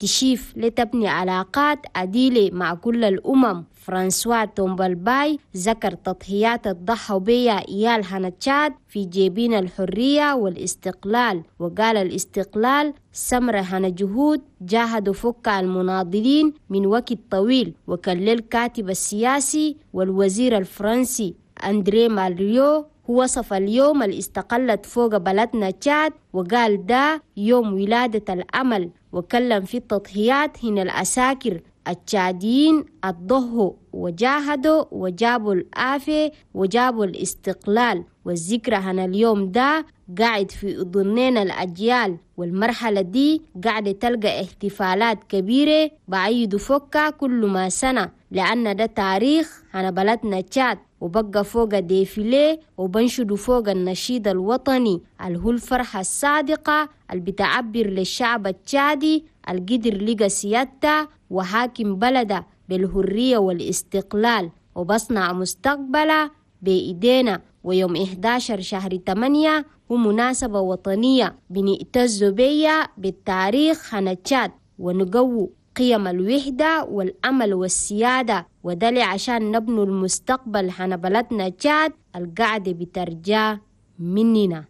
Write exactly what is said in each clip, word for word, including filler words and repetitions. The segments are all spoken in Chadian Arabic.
تشيف لتبني علاقات عديلة مع كل الأمم. فرانسوا تومبالباي ذكر تضحيات الضحوا بيها إيال هنا تشاد في جيبين الحرية والاستقلال، وقال الاستقلال سمرة هنا جهود جاهدوا فك المناضلين من وقت طويل. وكان الكاتب السياسي والوزير الفرنسي أندري مالريو هو وصف اليوم اللي استقلت فوق بلدنا تشاد وقال ده يوم ولادة الأمل، وكلم في التضحيات هنا الأساكر التشاديين الضحوا وجاهدوا وجابوا الآفة وجابوا الاستقلال، والذكرى هنا اليوم ده قاعد في أذنين الأجيال، والمرحلة دي قاعدة تلقى احتفالات كبيرة بعيدوا فوقها كل ما سنة، لأن ده تاريخ هنا بلدنا تشاد، وبقى فوق défilé وبنشدوا فوق النشيد الوطني اللي هو الفرحة الصادقة اللي بتعبر للشعب التشادي القدر لقى سيادته وحاكم بلده بالحرية والاستقلال وبصنع مستقبله بإيدينا. ويوم إحدى عشر شهر ثمانية هو مناسبة وطنية بنعتز بيها بالتاريخ هنا تشاد ونقوي قيم الوحدة والأمل والسيادة، وده عشان نبنوا المستقبل هنا بلدنا تشاد القاعدة بترجع مننا.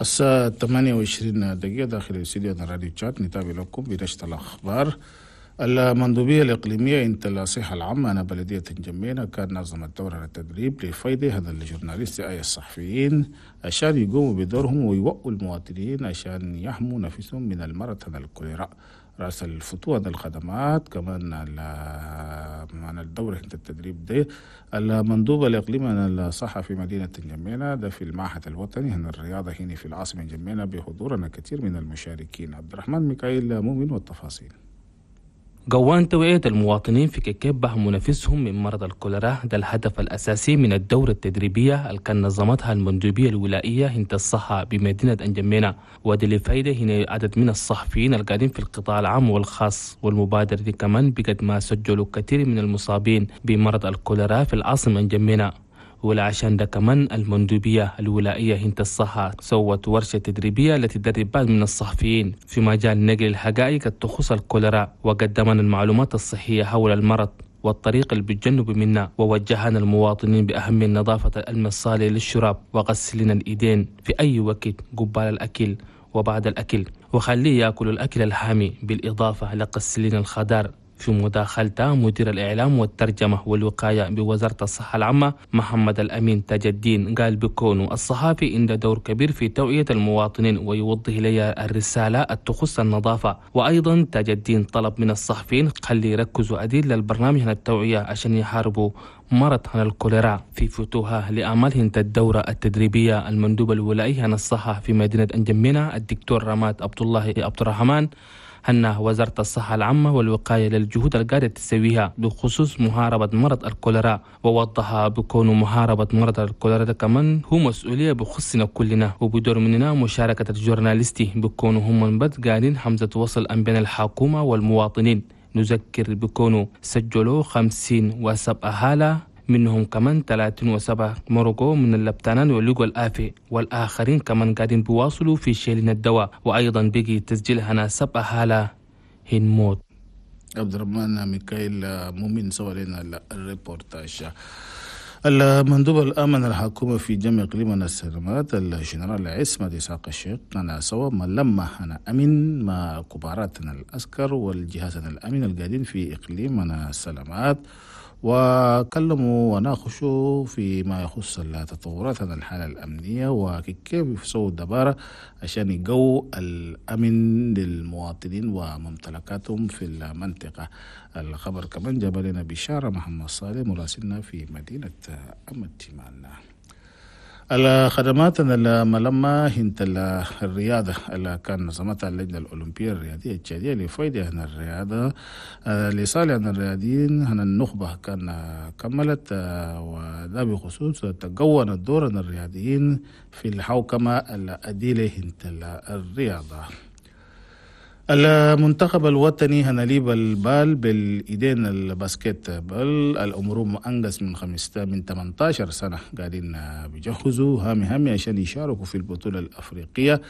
الساعة ثمانية وعشرين دقيقة داخل الاستديو راديو تشاد، نتابع لكم بنشرة الأخبار. المندوبية الإقليمية انت الصحة العامة أنا بلدية جمينة كان نظمت دورة التدريب لفايدة هذا الجورناليست أي الصحفيين عشان يقوموا بدورهم ويوقوا المواطنين عشان يحموا نفسهم من المرض هذا الكوليرا. رأس الفتوى الخدمات كمان عن الدورة التدريب ده المندوب الإقليمي الصحة في مدينة جمينة ده في المعهد الوطني هنا الرياضة هنا في العاصمة جمينة بحضورنا كثير من المشاركين. عبد الرحمن ميكائيل مؤمن والتفاصيل. قوان توعية المواطنين في كيف بهموا نفسهم من مرض الكوليرا ده الهدف الأساسي من الدورة التدريبية اللي كان نظمتها المندوبية الولائية هنت الصحة بمدينة أنجمينة، ودي لفايدة هنا عدد من الصحفيين القاعدين في القطاع العام والخاص. والمبادرة دي كمان بقد ما سجلوا كثير من المصابين بمرض الكوليرا في العاصمة أنجمينة، ولعشان ده كمان المندوبية الولائية هنت الصحة سوت ورشة تدريبية التي تدرب بعض من الصحفيين في مجال نقل الحقائق تخص الكوليرا، وقدمنا المعلومات الصحية حول المرض والطريق اللي بتجنب منا، ووجهنا المواطنين بأهمية نظافة المصالح للشراب وغسلنا الإيدين في أي وقت قبال الأكل وبعد الأكل، وخليه يأكل الأكل الحامي، بالإضافة لغسلين الخضار. في مداخلته مدير الإعلام والترجمة والوقاية بوزارة الصحة العامة محمد الأمين تاج الدين قال بكونه الصحافي عنده دور كبير في توعية المواطنين ويوضح لي الرسالة تخص النظافة. وأيضا تاج الدين طلب من الصحفيين خلي يركزوا أديل للبرنامج عن التوعية عشان يحاربوا مرض عن الكوليرا. في فتوها لأعمالهن الدورة التدريبية المندوب الولائي عن الصحة في مدينة أنجمينة الدكتور رماد عبد الله عبد الرحمن هنا وزارة الصحة العامة والوقاية للجهود القاعدة تسويها بخصوص محاربة مرض الكوليرا، ووضح بكون محاربة مرض الكوليرا ده كمان هو مسؤولية بخصنا كلنا، وبدور مننا مشاركة الجورناليستي بكونوا هم من بد قاعدين حمزة وصل أم بين الحكومة والمواطنين. نذكر بكونوا سجلوا خمسين وسبعة حالة منهم كمان ثلاثين وسبعة مرقوا من اللبتانان ولقوا الآفة، والآخرين كمان قاعدين بيواصلوا في شيلين الدواء، وأيضا بقي تسجيل هنا سبعة حالة هن موت. عبد الرحمن ميكائيل مؤمن سوى لنا الريبورتاج. المندوب الأمن الحكومة في جميع إقليم السلامات الجنرال عصمت إسحاق الشيخ أنا سوى ما لما أنا أمن مع كباراتنا العسكر والجهاز الأمن القاعدين في إقليم السلامات، وكلموا وناقشوا فيما يخص التطورات عن الحالة الأمنية وكيف يسووا الدبارة عشان يقووا الأمن للمواطنين وممتلكاتهم في المنطقة. الخبر كمان جاب لنا بشارة محمد صالح مراسلنا في مدينة أمتمان. الخدمات الملمة هنت الرياضة اللي كان نظمتها اللجنة الأولمبية الرياضية التشادية لفايدة هنا الرياضة لصالح الرياضيين هنا النخبة كان كملت، وده بخصوص تقون الدور الرياضيين في الحوكمة الأديلة هنت الرياضة. المنتخب الوطني هناليب البال بالايدين الباسكت بال الامور انقص من خمسة من ثمانية عشر سنه قاعدين بيجهزوا هامي هامي عشان يشاركوا في البطوله الافريقيه.